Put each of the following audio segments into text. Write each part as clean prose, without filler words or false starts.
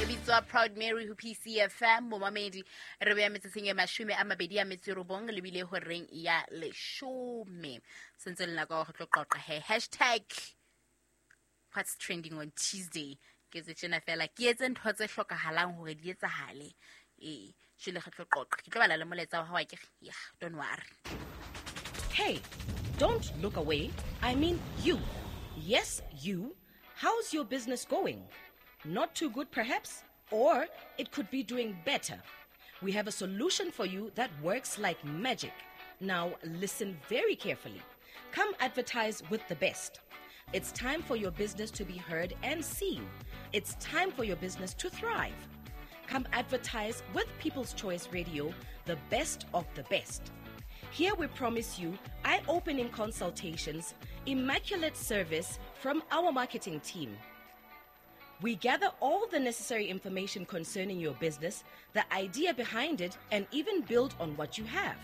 E bitswa Proud Mary ho PCFM. Momamedi, re beya metsotsong e 29 lebile horeng ya 10. Sentse le nako ya go tlo qoqa he. Hashtag what's trending on Tuesday. Ke tse tjena fela, ke etse ntho tse hlokahalang hore di etsahale. Ee, jwale re tlo qoqa. Ke tlo bala le molaetsa wa hao akere. Yeah, don't worry. Hey, don't look away. I mean you. Yes, you. How's your business going? Not too good, perhaps? Or it could be doing better. We have a solution for you that works like magic. Now, listen very carefully. Come advertise with the best. It's time for your business to be heard and seen. It's time for your business to thrive. Come advertise with People's Choice Radio, the best of the best. Here we promise you eye-opening consultations, immaculate service from our marketing team. We gather all the necessary information concerning your business, the idea behind it, and even build on what you have.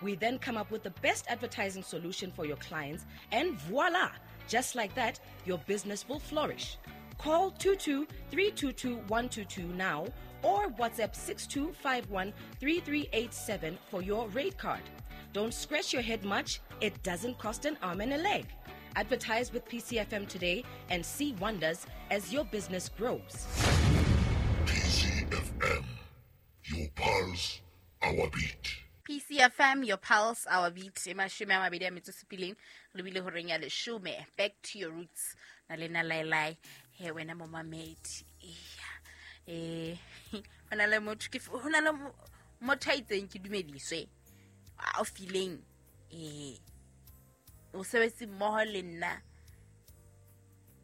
We then come up with the best advertising solution for your clients, and voila! Just like that, your business will flourish. Call 22-322-122 now or WhatsApp 6251-3387 for your rate card. Don't scratch your head much. It doesn't cost an arm and a leg. Advertise with PCFM today and see wonders as your business grows. PCFM, your pulse, our beat. PCFM, your pulse, our beat. E 27 lebile horeng ya 10. Back to your roots. Na le na lai. He wena momamedi. Eh, hona le motho ke hona le motho a itseng ke dumediswe. A o fileng o sebetse mmoho le nna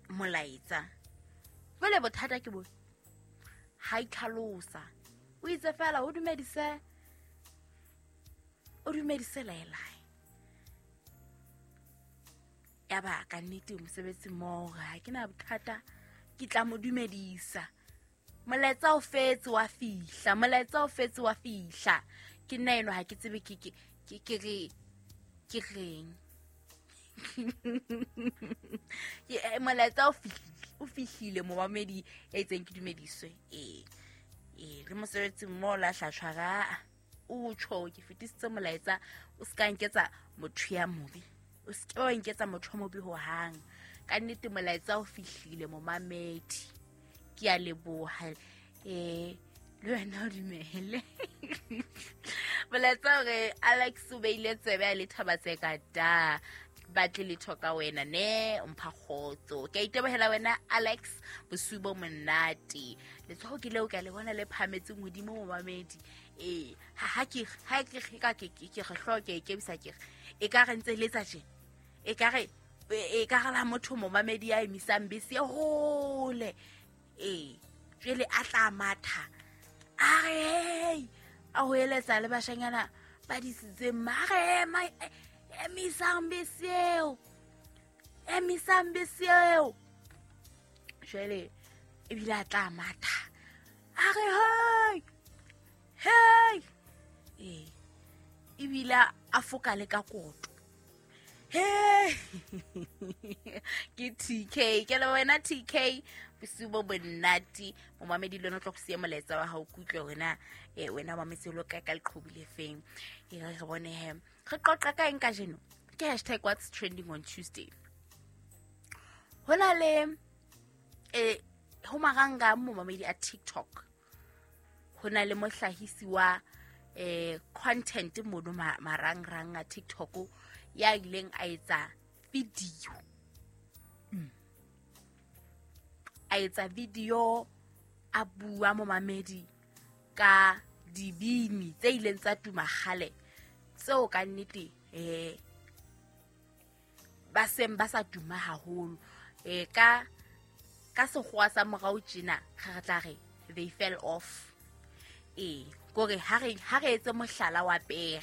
molaetsa. Jwale bothata ke bo ha itlhalosa. O itse fela o dumedise laelai. Ya ba ka nnete mosebetsi mmoho ha ke na bothata, ke tla mo dumedisa. Molaetsa o fetse wa fihla, molaetsa o fetse wa fihla. Ke nna eno ha ke tsebe ke ke ke reng. Ke molaetsa o fihlile momamedi ya itseng ke dumediswe. Le mosebetsi mmoho la hlatshwara o tjho ke fetisitse molaetsa, o ska nketsa motho ya mobe. O ska wa nketsa motho mobe ho hang. Ka nnete molaetsa o fihlile momamedi. Ke a leboha. Le wena o dumele. Molaetsa hore Alex o beile tsebe a le thaba tse ka da. Batle le thoka wena ne mpha kgotso. Ke a itebohela wena Alex, bosiu bo monate. Letsoho ke leo ka le bona le phametseng hodimo momamedi. Ha ke ka ke re hloke ke bisa ke e ka re ntse letsa tje. E ka re la motho momamedi ya emisang bese hole. Jwale a tla matha. A re hey, a ho eletsa le bashanyana ba disitseng mare emisang bese eo. Emisang bese eo. Jwale ebile a tla matha. A re hey. Hey. Ebile a foka le ka koto. Hey. Ke TK, ke le wena TK, bosiu bo monate. Momamedi le wena o tlo go siya molaetsa wa hao kutlwe wena, wena wa mametse lo ka ka leqhubu le feng. Re bone he. Re qoqa ka eng kajeno? Ke hashtag what's trending on Tuesday. Hona le ho maranga momamedi a TikTok. Hona le mohlahisi wa content mono marangrang a TikTok ya ileng a etsa video. A etsa video a bua momamedi ka dibini tse ileng tsa tuma kgale tseo ka nnete ba seng ba sa tuma haholo. Ka sekgowa sa morao tjena re tla re they fell off. Kore ha re etse mohlala wa pere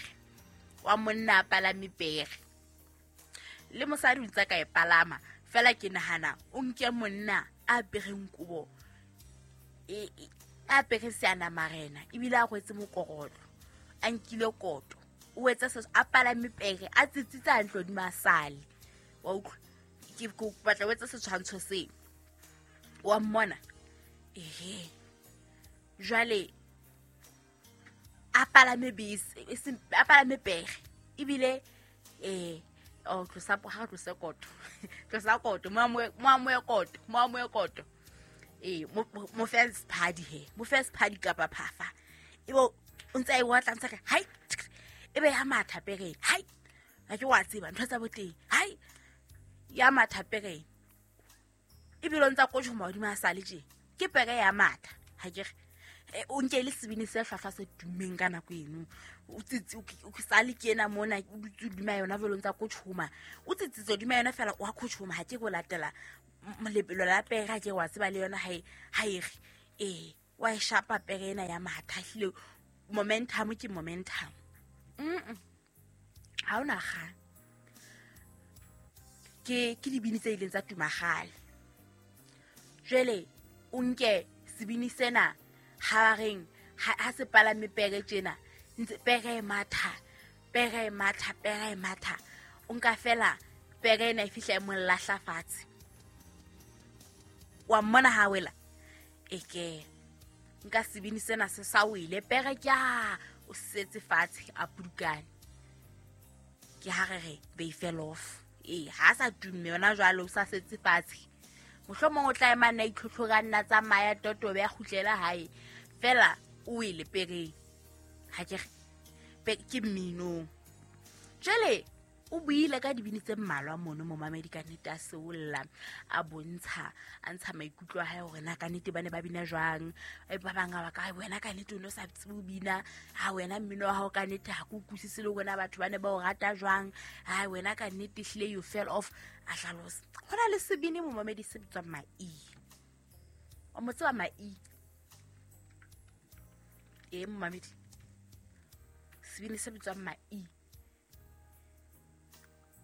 wa monna a palame pere le mosadi o ntse ka e palama fela ke nahana o nke monna a apereng kobo a apere seana marena ebile a rwetse mokorotlo a nkile koto o etsa se a palame pere a tsitsitse hantle hodima a sale. Wa utlwa ke batla o etsa setshwantsho seo wa mmona. Ehe, Jwale a palame bese, a palame pere ebile o tlosa ha tlosa koto. Tlosa koto, mo amoe koto, mo amoe koto. Mo fe sephadi he, mo fe sephadi kapa phafa. Ebe o ntse a e otla, ntse re hai, ebe ya matha pereng, hai, ha ke wa tseba ntho tsa boteng, hai, ya matha pereng. Ebile o ntsa kotjhoma hodimo a sale tje, ke pere ya matha, ha ke re. O nke le sebini se hlwahlwa se tummeng ka nako eno. O tsitsi, o sale ke ena mona, o dutse hodima yona jwale o ntsa kotjhoma. O tsitsitse hodima yona fela wa kotjhoma, ha ke go latela lebelo la pere, ha ke wa tseba le yona ha e re. Wa e shapa pere ena ya matha, ehlile momentum ke momentum. Ha ona kgang. Ke dibini tse ileng tsa tuma kgale. Jwale o nke sebini sena ha reng ha se palame pere tjena, ntse pere e matha, pere e matha, pere e matha. O nka fela pere ena e fihla e mo lahla fatshe. Wa mmona ha wela? Eke nka sebini sena se sa wele, pere ke a o setse fatshe a pudukane. Ke ha re re they fell off. Ha sa tumme yona jwale o sa setse fatshe. Mohlomong o tla ema nna itlhotlhora nna tsamaya totobe ya kgutlela hae. Fela o wele pereng. Ha ke re ke mminong. Jwale o buile ka dibini tse mmalwa mono momamedi ka nnete a seolla, a bontsha, a ntsha maikutlo a hae hore na ka nnete ba ne ba bina jwang. Ba bang ba ka, wena ka nnete o no sa tsebe ho bina, ha wena mmino wa hao ka nnete ha ke utlwisise le hore na batho ba ne ba o rata jwang, ha wena ka nnete ehlile you fell off. A hlalosa. Ho na le sebini momamedi se bitswang Mai. O mo tseba Mai? Momamedi. Sebini se bitswang Mai.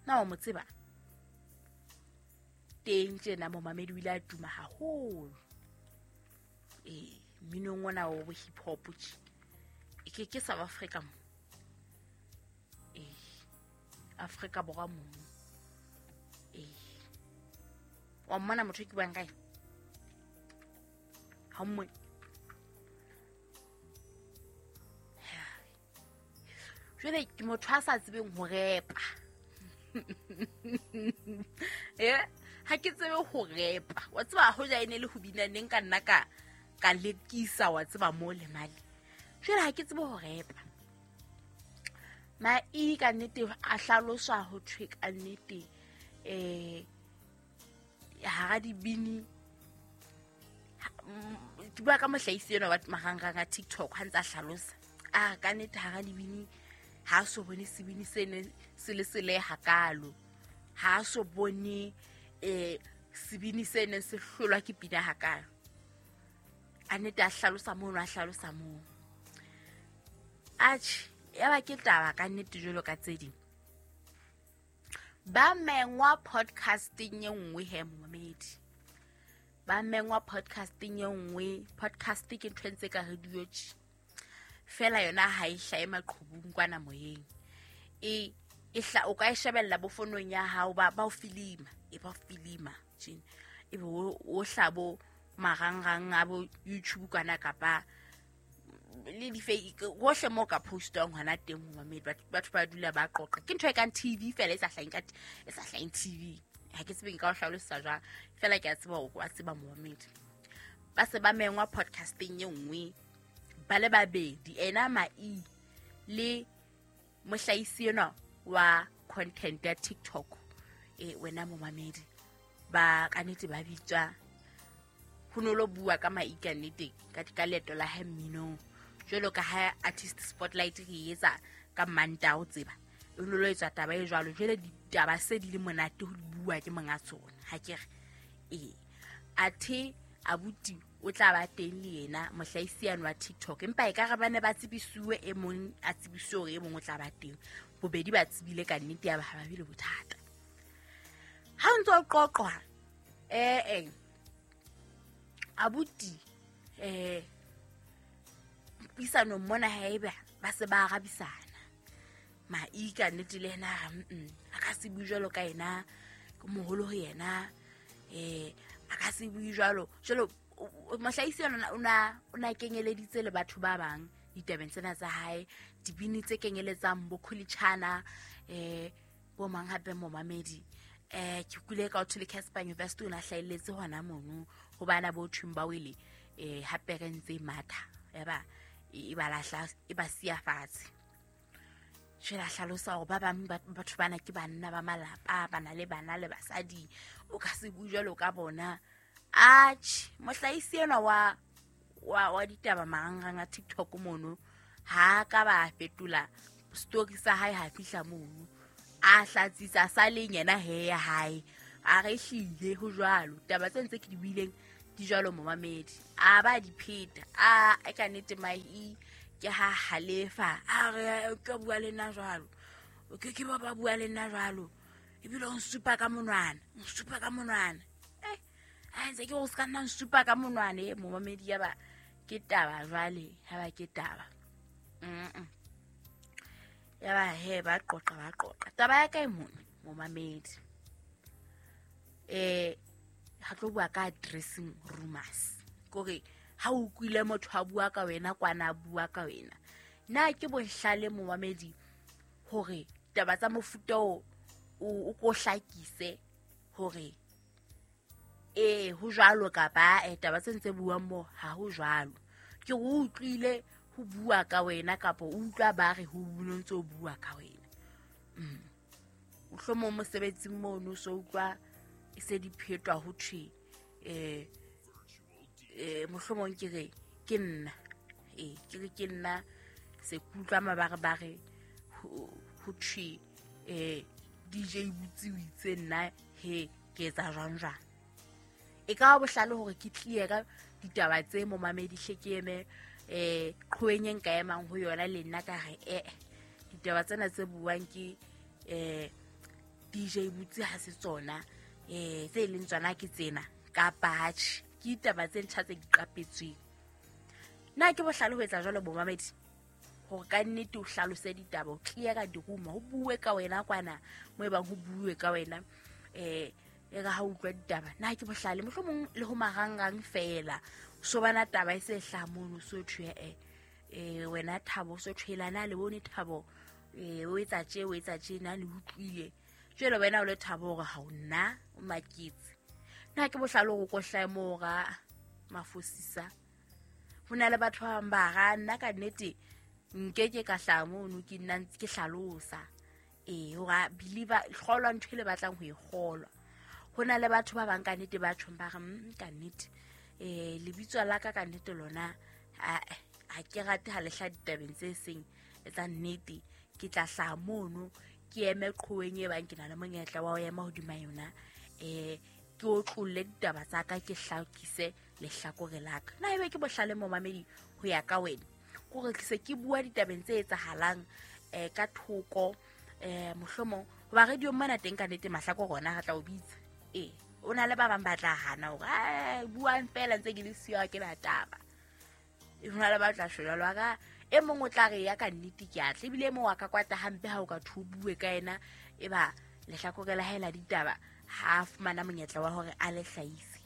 Na o mo tseba? Teng tjena momamedi o ile a tuma haholo. Mminong ona wa bo hip hop tje. Ke South Africa mo. Afrika Borwa mo. Wa mmona motho ke buang kae? Ha mmone. Jwale ke motho a sa tsebeng ho repa. Ha ke tsebe ho repa. Wa tseba hoja e ne le ho bina neng ka nna ka lekisa wa tseba mo le male. Jwale ha ke tsebe ho repa. Mai ka nnete a hlaloswa ho thwe ka nnete hara dibini ke bua ka mohlahisi enwa wa marangrang a TikTok ha ntse a hlalosa. A ka nnete hara dibini ha so bone sebini se ne se le sele hakalo. Ha so bone sebini se ne se hlolwa ke pina hakalo. A nnete a hlalosa mono, a hlalosa moo. Atjhe, ya ba ke taba ka nnete jwalo ka tse ding. Ba mengwa podcasting e nngwe he momamedi. Ba mengwa podcasting e nngwe. Podcast ke ntho e ntse ka radio tje. Fela yona ha e hlahe maqhubung kwana moyeng. O ka e shebella bo fonong ya hao, ba o filima, ba o filima tjena. Ebe o hlabo marangrang a bo YouTube kwana kapa le di hohle mo ka postang hona teng momamedi. Batho ba dula ba qoqa. Ke ntho e kang TV fela e sa hlaheng ka e sa hlaheng TV. Ha ke tsebe nka o hlalosa jwang, fela ke a tseba hore wa tseba momamedi. Ba se ba mengwa podcasting e nngwe ba le babedi, ena Mai le mohlahisi enwa wa content ya TikTok. Wena momamedi ba ka nnete ba bitswa ho no lo bua ka Mai ka nnete ka leeto la hae mminong. Jwalo ka ha artist spotlight re etsa ka Mantaha o tseba, e no lo etswa taba e jwalo. Jwale ditaba se di le monate ho bua ke monga tsona, ha ke re. Athe abuti o tla ba teng le yena mohlahisi yane wa TikTok, empa e ka re ba ne ba tsebisuwe, e mong a tsebisuwe hore e mong o tla ba teng. Bobedi ba tsebile ka nnete ya ba ha ba bile bothata. Ha o ntso o qoqwa, abuti puisanong mona haeba ba se ba arabisana. Mai ka nnete le yena a ka se bue jwalo ka yena, ke moholo ho yena, a ka se bue jwalo. Jwalo Mohlahisi yona o na kenyeleditse le batho ba bang ditabeng tsena tsa hae, dibini tse kenyeletsang bo Khulitshana, bo mang hape momamedi. Ke kule ka ho le Casper University o na hlahelletse hona mono ho bana bo thweng ba wele, hape re ntse matha ya ba e ba lahla e ba siya fatshe. Jwale a hlalosa hore ba bang batho bana ke banna ba malapa, ba na le bana le basadi, o ka se bue jwalo ka bona. Atjhe, mohlahisi enwa wa ditaba marangrang a TikTok mono ha ka ba fetola story sa hae ha fihla mono, a hlatsisa sa leng yena he ya hae, a re hlile ho jwalo. Taba tse ntse ke di buileng di jwalo momamedi, a ba di pheta, a ka nnete mahi ke ha halefa, a re ke bua le nna jwalo, ke ba bua le nna jwalo, ebile o nsupa ka monwana, o nsupa ka monwana. A ntse ke go se ka nna nsupa ka monwana e momamedi, ya ba ke taba jwale, ya ba ke taba. Ya ba he ba qoqa ba qoqa. Taba ya kae mona momamedi? Ha tlo bua ka dressing rumors. Kore ha o utlwile motho a bua ka wena kwana a bua ka wena. Na ke bohlale momamedi hore taba tsa mofuta o o ko hlakise hore ho jwalo kapa taba tse ntse buang mo ha ho jwalo. Ke o utlwile ho bua ka wena kapa o utlwa ba re ho ntse o bua ka wena. Mohlomong mosebetsing mono so utlwa e se di phetwa ho thwe mohlomong ke re ke nna, ke re ke nna se kutlwa mabarebare ho thwe DJ Butsi o itse nna he ke etsa jwang jwang. E ka ba bohlale hore ke tlie ka ditaba tse momamedi hle ke eme qhoeng e nka emang ho yona le nna ka re ditaba tsena tse buang ke DJ Butsi ha se tsona, tse leng tsona ke tsena kapa atjhe, ke ditaba tse ntjha tse diqapetsweng. Na ke bohlale ho etsa jwalo bomamedi hore ka nnete o hlalose ditaba, o clear ka diruma, ho bue ka wena kwana mo e bang ho bue ka wena, e re ha utlwa ditaba. Na ke bohlale mohlomong le ho marangrang fela so bana taba e se hlaha mono so thwe wena Thabo so thwela na le bone Thabo, o etsa tje o etsa tje na le utlwile. Jwale wena o le Thabo hore ha o nna o maketse. Na ke bohlale hore o ko hlahe moo ra mafosisa. Ho na le batho ba bang ba ra nna ka nnete nke ke ka hlaha mono ke nna ntse ke hlalosa. Hore believer kgolwa ntho e le batlang ho e kgolwa. Ho na le batho ba bang ka nnete ba tjhong ba re ka nnete lebitso la ka ka nnete lona ha ke rate ha le hla ditabeng tse seng tsa nnete, ke tla hlaha mono ke eme qhoweng e bang ke na le monyetla wa ho ema hodima yona, ke otlolle ditaba tsa ka, ke hlakise lehlakore la ka. Na ebe ke bohlale momamedi ho ya ka wena kore ke se ke bua ditabeng tse etsahalang ka thoko, mohlomong hoba radio mona teng ka nnete mahlakore ona re tla o bitsa. O na le ba bang ba tla hana hore buang fela ntse ke le siyo ha ke na taba. Ho na le ba tla shwela lwa ka e mong o tla re ya ka nnete ke atle, ebile e mong wa ka kwata hampe ha o ka thu bue ka yena, e ba lehlakore la hae la ditaba ha a fumana monyetla wa hore a le hlahise,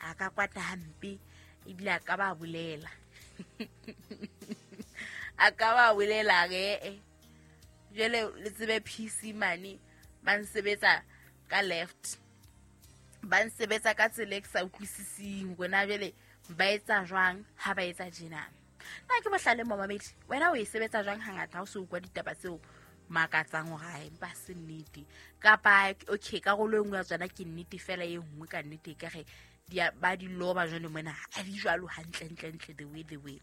a ka kwata hampe ebile a ka ba bolela. A ka ba bolela re jwale le tsebe PC mane ba nsebetsa ka left, ba nsebetsa ka tsela e ke sa utlwisising hore na jwale ba etsa jwang ha ba etsa tjena. Na ke bohlale momamedi, wena o e sebetsa jwang hangata ha o so utlwa ditaba tseo makatsang hore ha empa se nnete, kapa okay karolo e nngwe ya tsona ke nnete fela e nngwe ka nnete e ka re ba di loba jwale mona ha di jwalo hantle ntle ntle the way the way.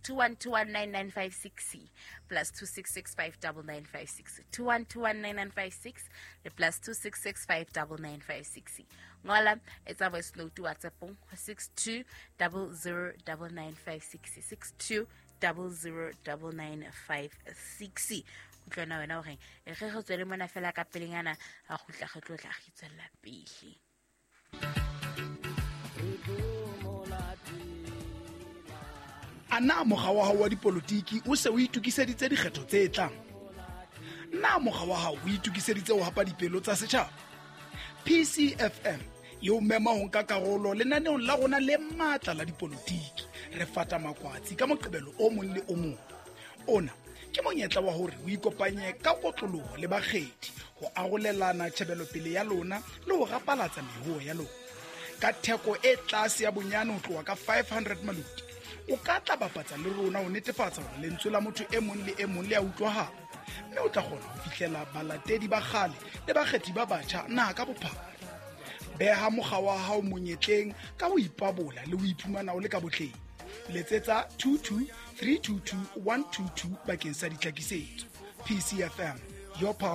21219956 plus 26659956 21219956 le plus 26659956. Ngola etsa voice note WhatsApp-ong 62009956 62009956. Utlwana wena hore re re tswele mona fela ka pelenyana a kgutla re tlo tla re tswella pele. Ana mokga wa hao wa dipolotiki o se o itokiseditse dikgetho tse tlang? Na mokga wa hao o itokiseditse ho hapa dipelo tsa setjhaba? PCFM E o mema ho nka karolo lenaneong la rona le matla la dipolotiki. Re fata makwatsi ka Moqebelo o mong le o mong. Ona ke monyetla wa hore o ikopanye ka kotloloho le bakgethi ho arolelana tjhebelopele ya lona le ho rapalatsa mehoo ya lona. Ka theko e tlase ya bonyane ho tloha ka 500 maluti, o ka tla bapatsa le rona ho netefatsa hore lentswe la motho e mong le e mong le a utlwahala, mme o tla kgona ho fihlela balatedi ba kgale le bakgethi ba batjha naha ka bophara. Beha mokga wa hao monyetleng ka ho ipabola le ho iphumana o le ka botleng. Letsetsa 22 322 122 bakeng sa ditlhakisetso. PCFM, your power.